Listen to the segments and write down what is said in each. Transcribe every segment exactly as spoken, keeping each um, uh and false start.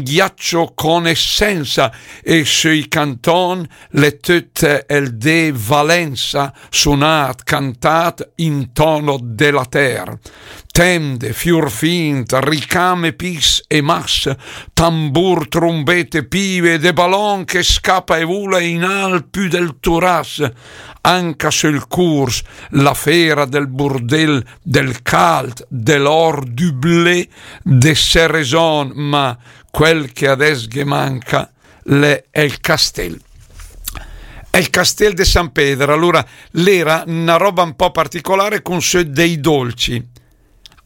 ghiaccio con essenza, e sui canton l'è töt el de Valenza, sunat, cantat in tono de la ter. Tende, fiurfint, ricame, pis e mas, tambur, trumbete, pive, de balon che scapa e vula in alt pü del turas, anca sul curs, la fera del burdel, del calt, de l'or, du blé, de sereson, ma quel che adès ghe manca l'è el castel. El castel de San Peder, alura, l'era na roba un po' particolare con sö dei dolci.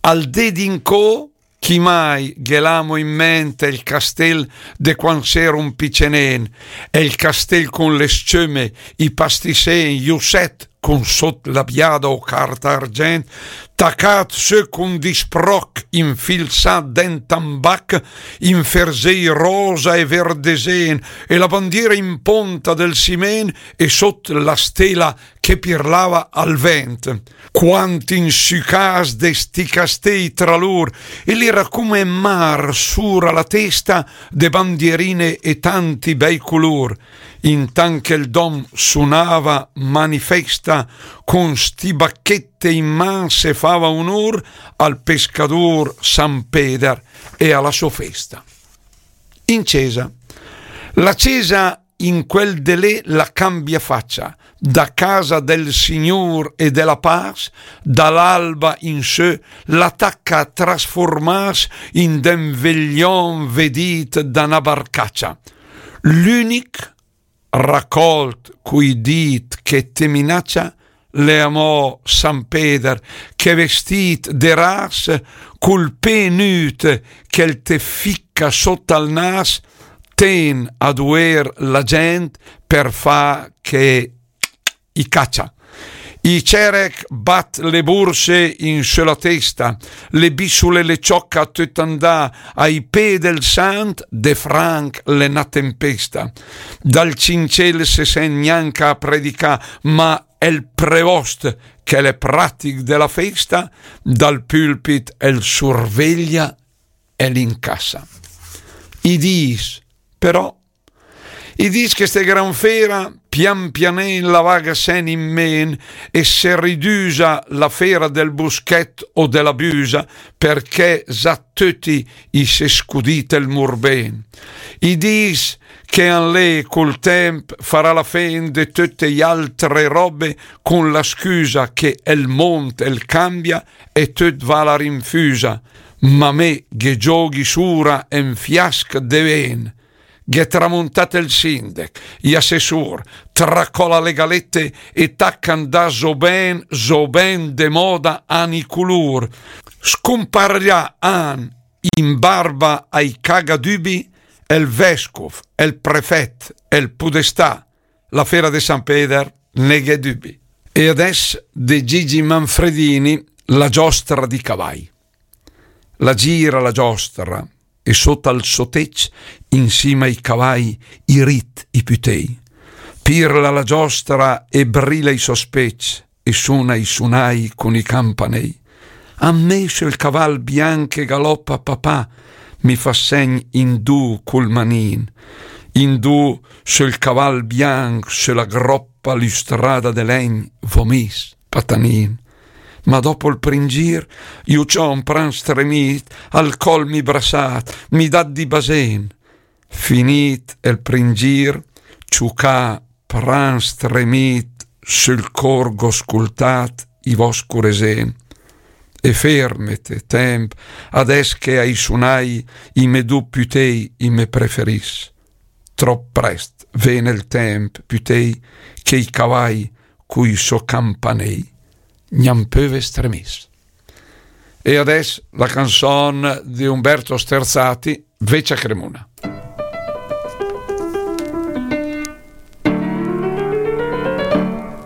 Al dé d'incò, chi mai ghe l'amo in ment el castel de quand s'era un picenén, el castel con le sceme, i pastisén, i uset, con sot la biada o carta argent, tacat sö con disproc, infilsat dent tambac, in ferzei rosa e verdesén, e la bandiera in ponta del simen e sot la stela che pirlava al vent. Quant insücàs de sti castei tra lur, e l'era come mar sura la testa de bandierine e tanti bei culur. Intant che el dom sunava manifesta, con sti bachette in man se fava unur al pescadur San Peder e a la so festa. In cesa. La cesa in quel de lé la cambia facia, da casa del Signur e de la pas, da l'alba in sö, la taca a trasformas in den veglion vedit da na barcacia. L'unic racolt cui dit che te minacia, l'è amò San Peder, che vestit de ras, cul pé nüt che el te fica sot al nas, ten a duer la gent per fa che i cacia. I cerec bat le burse in sö la testa, le bisule le cioca töt andà, ai pé del sant de franc l'è na tempesta. Dal cincel se sent gnanca a predicà, ma el prevost, che l'è pratic de la festa, dal pulpit el surveglia e l'incassa. I dis, però, i dis che ste gran fera, pian pianen la vaga sen in men, e se ridusa la fera del buschet o de la busa, perché za töti i se scudit el murben. I dis che an lé cul temp farà la fen de töte i altre robe, con la scusa che el mont el cambia e töt va a la rinfusa, ma me ghe gioghi sura en fiasc de ven. Gh'è tramontat el sindec, i assessur, tracola le galette e taca andà zo ben, zo ben de moda a ni culur. Scumparlà an in barba ai cagadübi, el vescuf, el prefet, el pudestà, la fera de San Peder ne gh'è dübi. E adès de Gigi Manfredini, La giostra di cavai. La gira la giostra, e sot al so tec, insima ai cavai, i rit i pütei. Pirla la giostra e brila i so spec, e suna i sunai cun i campanei. A me söl caval bianc che galopa papà, mi fa segn indù cul manin. Indù söl caval bianc, söla groppa lustrada de legn, v'ho mis, patanin. Ma dopo il prin gir, ju ciò un pran stremit, al col mi brassat, mi dat di basen. Finit el prin gir, ciucà pran stremit, sul cor gh'ho scultat i voscure sen. E fermete, temp, adès che ai sunai i me du pütei i me preferis. Trop prest ven el temp, pütei, che i cavai cui so campanei gnampe ve stremis. E adès la canzon di Umberto Sterzati, Vecia Cremuna.